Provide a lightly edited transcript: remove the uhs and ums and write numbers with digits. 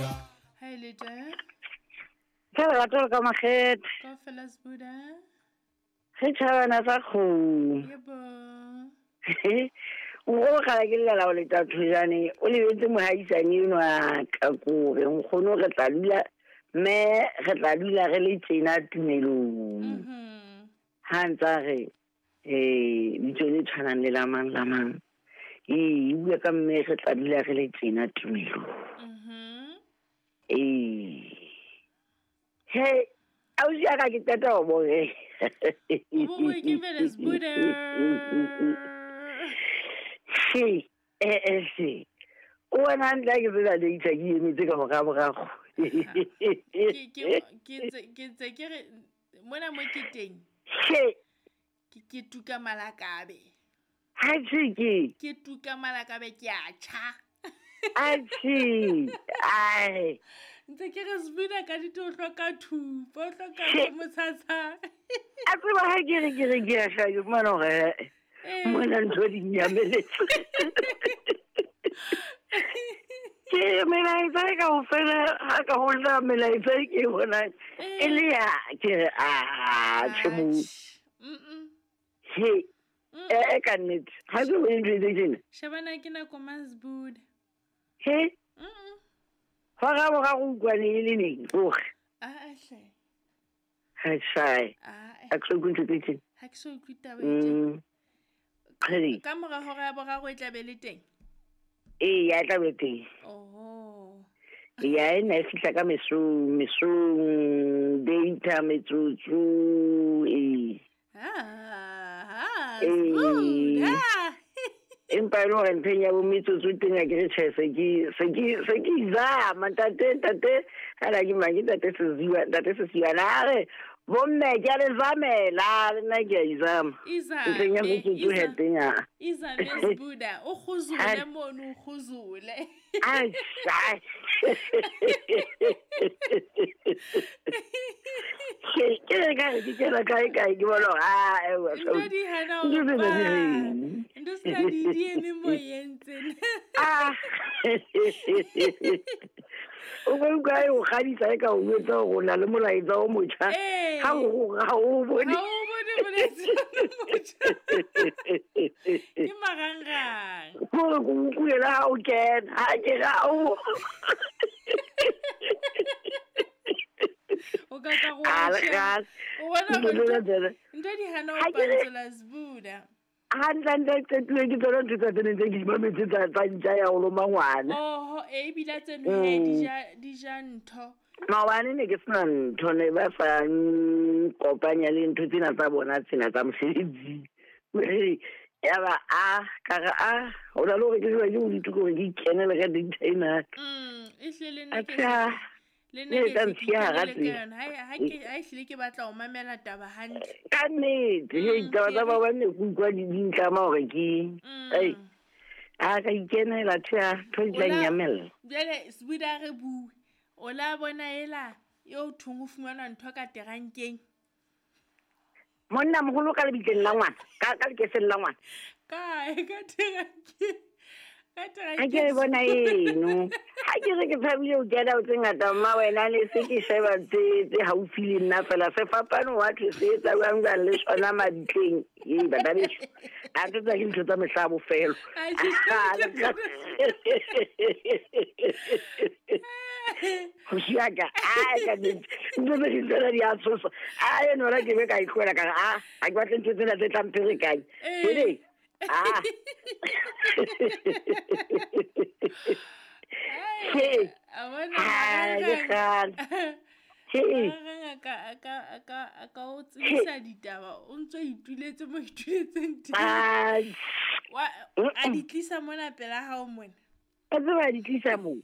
Ha e le teng. Ka lerato le ka makgethe. Kaofela Sbuda. Re tjhabana sa kgomo. Yebo. Nkgono kgala ke llela ho leta thojane o lebetse mohaisane enwa ka kore nkgono re tla dula mme re tla dula re le tjena tumelong. Ha ntsa re eh bitso le tshwanang le la mang la mang. Ee, e bua ka mme re tla dula re le tjena tumelong. Ee. He, ausi ya ka ke qeta ho bone. He, eh eh she. O bona hantle ha ke tsena data ke emetse ka mora morago. Ke ke ke ntse ke re mona mo ke teng. He. Ke tuka malakabe. Atjhe ke. Ke tuka malakabe ke a tjha. Atjhe. Ai. Ntse ke re Sbuda ka dite o hloka thupa, o hloka go motshatsha. A tseba ha ke re ke re ke a hlaya ke fumana hore mona ntho di nyameletse. Ke melaetsa e kaofela ha ka hola melaetsa e ke e bonang e le ya ke re a tjhe mo. He. E ka nnete. Ha ke bone ntho e tjena. Shebana ke nako mang Sbuda? He. Hora boraro utlwane e le neng hore. Ah hle. Ha tjhae. Ha ke so utlwe ntho tse tjena. Ha ke so utlwe taba e tjena. Ka mora hora ya boraro e tla be le teng? Ee, ya tla be teng. Oho. Ya e ne e fihla ka mesong, mesong, data metsotso, ee. Ah, Ee. Sbuda. Empa e le hore ntheng ya bo metsotso teng ha ke re tjhe se ke se ke se ke izama ntate ntate ana ke mang ke ntate Seziwa ntate Sesiwa na a re bomme ke a le zamela le nna ke a izama ntlheng ya Izame, metsotso he teng a izame Sbuda, o kguzule mono, o kguzule. Ai, ai. Ke ke re ka re ke kena kae kae ke bona hore ah, ewa, Ntho di hana ntho ho tsena di pa. reng? Ntho sena di di eme moyeng tsena. Ah. O ka utlwa e o kgadisa e ka o jwetsa hore o na le molaetsa o motjha. Ee. Ha o ha o bone. Ha o bone molaetsa o motjha. Ke marangrang. Kore ke utlwile le ha o kena. Ha ke re ha o. O ka ka go A le sheba. kgale. O bona Ntho hore tsena ntho tsena. ntho di hana ho Ha ke re pantsola Sbuda. Hantle-hantle e qetuwe ke tsona ntho tsa tsene tse ke di mametse tsa tsa ntja ya ho loma ngwana. Oho, e ebile tseno he di ja ntho. Maobane ne ke sena ntho ne ba sa nkopanya le ntho tsena tsa bona tsena tsa mosebetsing. Ya ba a ka re a ho na le hore ke jewa ke bodutu ke hore ke ikenele ka data ena. E hlile le nna ke Atjhe, ah, le nna ne ke tla hle ke ntshiya hara ikenele ka tsela. yona. Ha ke ha ehlile ke batla ho mamela taba hantle. Ka nnete, hei taba Ke tsa re maobane ne ke utlwa di di ntlama hore ke ei a ka ikenela tjhe ah, ntho di O tla la nnyamella. jwale Sbuda re bue. O la bona ela eo thong ho fumanwa ntho ka terankeng. Monna moholo ka lebitleng la ngwana, ka ka lekeseng la ngwana. Kae ka terankeng? Ka Ha ke terankeng e bona eno. Ha ke re ke tshabile ho kena ho tse ngata mma wena ne se ke sheba tse tse haufi le nna fela sefapano wa thwe se etsa jwang jwang le sona mabitleng. Ee bana beso. A ntho tsa ke ntho tsa mehla ya bofelo. Atjhe, Ho siya ka ai ka nnete. Ntho tse ding tsena di a tshosa. A eno hona ke be ka e tlohela ka re ah ha ke batle ntho tsena tse tla mpherekanya. Jwale ah. He. A bona Ha le marangrang. kgale. He. Marangrang a ka o tsebisa ditaba o ntso ituletse mo ituletseng teng. Ah. Wa a di tlisa mona pela hao mona. A tseba di tlisa moo.